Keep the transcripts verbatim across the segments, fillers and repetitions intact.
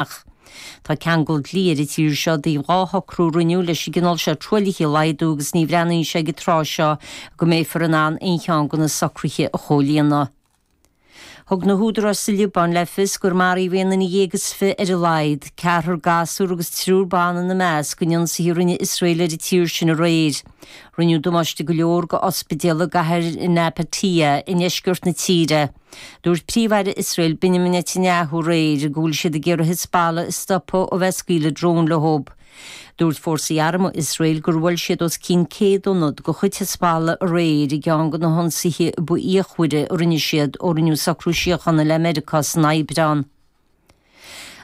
amach. Tá ceangal dlí ar an tír seo i dtaobh dhá shocrú a rinneadh leis an gcineál seo truaillithe a laghdú agus ní bhreathnaíonn sé ag an tráth seo go mbeifear in ann aon cheann de na socruithe a chomhlíonadh. Thug na húdaráis sa Liobáin le fios gur maraíodh aon duine dhéag is fiche ar a laghad, ceathrar gasúr agus triúr ban ina measc, in ionsaithe a rinne Iosrael ar an tír sin aréir. Rinneadh damáiste go leor go ospidéal i gcathair Nabatieh i ndeisceart na tíre. Dúirt Príomh-Aire Iosrael Benjamin Netanyahu aréir go bhfuil siad ag iarraidh Hezbollah a stopadh ó bheith ag scaoileadh drón leo. Dúirt fórsaí armtha Iosrael gur bhuail siad os cionn céad ionad de chuid Hezbollah aréir i gceann de na hionsaithe ba fhíochmhaire a rinne siad ó rinneadh socrú síochána le Meiriceá san Aibreán.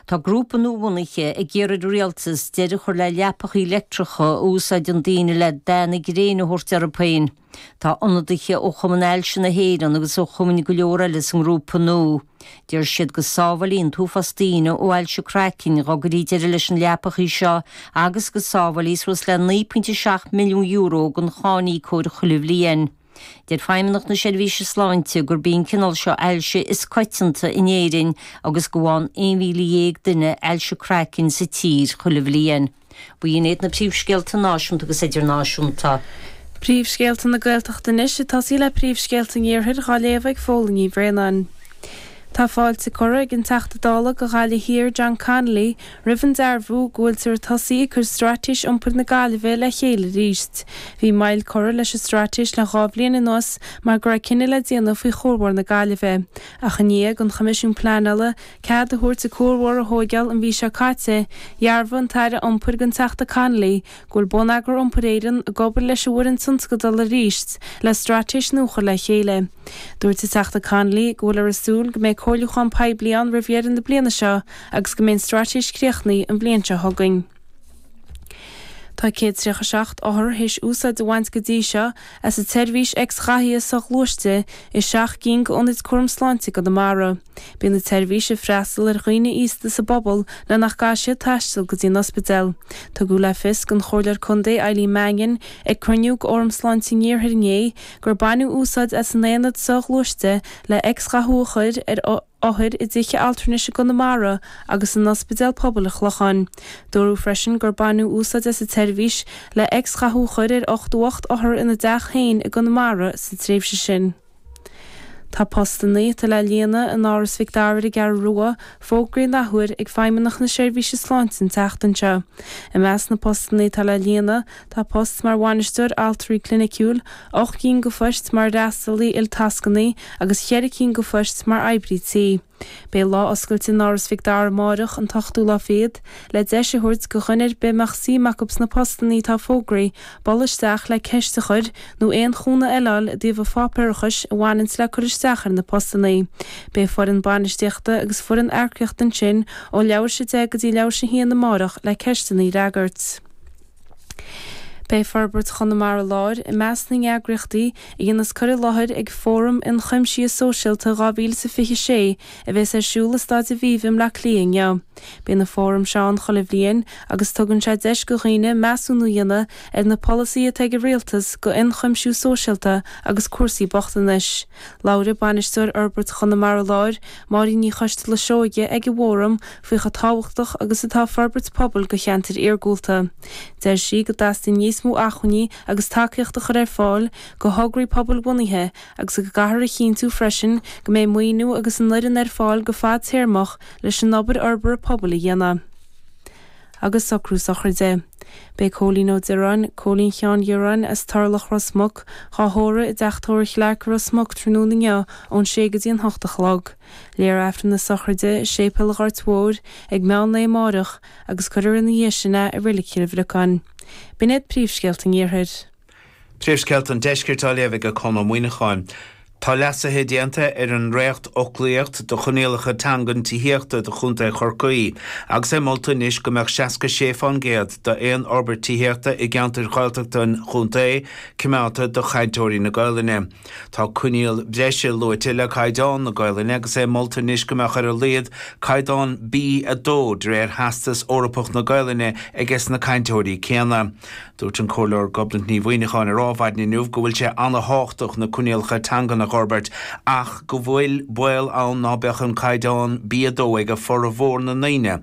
Tá grúpa nuabhunaithe ag iarraidh ar an rialtas deireadh a chur le leapacha leictreacha a úsáideann daoine le dath na gréine a thabhairt orthu féin. Tá ionadaithe ó Chumann Ailse na hÉireann agus ó chumainn go leor eile sa ngrúpa nua. Deir siad go sábhálfaí an t-uafás daoine ó ailse craicinn dá gcuirfí deireadh leis na leapacha seo agus go sábhálfaí suas le naoi pointe seacht milliún euro don cháiníocóir chuile bhliain. Deir Feidhmeannacht na Seirbhíse Sláinte gurb í an cineál seo ailse is coitianta in Éirinn agus go bhfaigheann aon mhíle dhéag duine ailse craicinn sa tír chuile bhliain. B'in iad na príomhscéalta náisiúnta agus idirnáisiúnta. Príomhscéalta na Gaeltachta anois ag tosaí le príomhscéalta an Iarthair dhá léamh ag Fódhla Ní Bhraonáin. Tá fáilte curtha ag an Teachta Dála do Ghaillimh Thiar John Connolly roimh an dearbhú go bhfuiltear ag tosaí ag cur Straitéis Iompair na Gaillimhe le chéile arís. Bhí moill curtha leis an straitéis le dhá bhliain anuas mar go raibh cinneadh le déanamh faoi chuarbhóthar na Gaillimhe. Ach i ndiaidh don Choimisiún Pleanála cead a thabhairt an cuarbhóthar a thóigeáil an mhí seo caite, dhearbhaigh an tAire Iompair don Teachta Connolly go bhfuil Bonneagar Iompair Éireann ag obair leis an bhfoireann tionscadail arís le straitéis nua a chur le chéile. Dúirt an Teachta Connolly go bhfuiltear ag súil go mbeidh comhairliúchán poiblí ann roimh dheireadh na bliana seo agus go mbeidh an straitéis críochnaithe an bhliain seo chugainn. Tá céad tríocha seacht othar théis úsáid a bhaint go dtí seo as an tseirbhís X-ghathaithe soghluaiste i seacht gcinn d'ionaid cúram sláinte i gConamara. Bíonn an tseirbhís ag freastal ar dhaoine aosta sa bpobal le nach gcaithfidh siad taisteal go dtí an ospidéal. Tugadh le fios don Chomhairleoir Contae Eileen Mannion ag cruinniú d'Fhóram Sláinte an Iarthair inné gur baineadh úsáid as an aonad soghluaiste le X-ghathú a chur ar othair i dtithe altranais i gConamara agus in Ospidéal Pobail an Chlocháin. Dúradh freisin gur baineadh úsáid as an tseirbhís le X-ghathú a chur ar ochtó ocht othar ina dteach féin i gConamara sa tréimhse sin. Tá postanna atá le líonadh in Áras Mhic Dara ar an gCeathrú Rua fógraithe an athuair ag Feidhmeannacht na Seirbhíse Sláinte an tseachtain seo. I measc na postanna atá le líonadh tá post mar bhainisteoir altraí cliniciúil, ocht gcinn de phoist mar fhreastalaí iltascanna agus cheithre cinn de phoist mar oibrí tí. Beidh lá oscailte in Áras Mhic Dara amárach, an t-ochtú lá fichead, le deis a thabhairt do dhuine ar bith a mbeadh suim acu sna postanna atá fógraithe bualadh isteach le ceist a chur nó aon chúnamh eile a fháil i dtaobh an pháipéarachais a bhaineanns le cur isteach ar na postanna. Beidh foireann bainistíochta agus foireann earcaíochta ansin ó leathuair tar éis a deich go dtí leathuair tar éis a haon amárach le ceisteanna a fhreagairt. Beidh Forbairt Chonamara Láir i measc na n-eagraíochtaí a dhéanfas cur i láthair ag Fóram Ionchuimsithe Sóisialta dhá mhíle is a fiche sé a bheas ar siúl i Staid Aviva i mBleá Cliath inniu. Bíonn an fóram seo ann chuile bhliain agus tugann sé deis do dhaoine measúnú a dhéanamh ar na polasaithe atá ag an rialtas do ionchuimsiú sóisialta agus cúrsaí bochtanais. Labhair Bainisteoir Fhorbairt Chonamara Láir, Máirín Ní Choisteala Seoige ag an bhfóram faoi chomh tábhachtach agus atá forbairt pobail do cheantair iargúlta. Deir sí go dteastaíonn níos mó acmhainní agus tacaíocht a chur ar fáil do thograí pobalbhunaithe agus go gcaithfear a chinntiú freisin go mbeidh maoiniú agus an fhoireann ar fáil go fadtéarmach leis an obair fhorbartha pobail a dhéanamh. Agus socrú sochraide. Beidh Cóilín Ó Direáin, Cóilín Sheáin Dhireáin as Turlach Ros Muc, dhá thórramh i dteach tórraimh Chlarke i Ros Muc tráthnóna inniu ón sé go dtí an hocht a chlog. Léifear Aifreann na sochraide i Séipéal an Ghoirt Mhóir ag meán lae amáireach agus cuirfear ina dhiaidh sin é i Reilig Chill Bhriocáin. B'in iad príomhscéalta an Iarthair. Príomhscéalta an Deiscirt á léamh ag Conn Ó Muíneacháin. Tá leasuithe déanta ar an ndréacht-fhoclaíocht do choinníollacha teangan tithíochta do Chontae Chorcaí agus é molta anois go mbeadh seasca sé fán gcéad d'aon fhorbairt tithíochta i gceantair Ghaeltachta an chontae coimeádta do chainteoirí na Gaelainne. Tá coinníoll breise luaite le caighdeán na Gaelainne agus é molta anois go mbeadh ar a laghad caighdeán B a dó de réir Theastas Eorpach na Gaelainne aige na cainteoirí céanna. Dúirt an Comhairleoir Gobnait Ní Mhuineacháin ar Adhmhaidin inniu go bhfuil sé an-tábhachtach na coinníollacha teangan a a fhorbairt ach go bhfuil baol ann ná beadh an caighdeán B a dó ag formhór na ndaoine a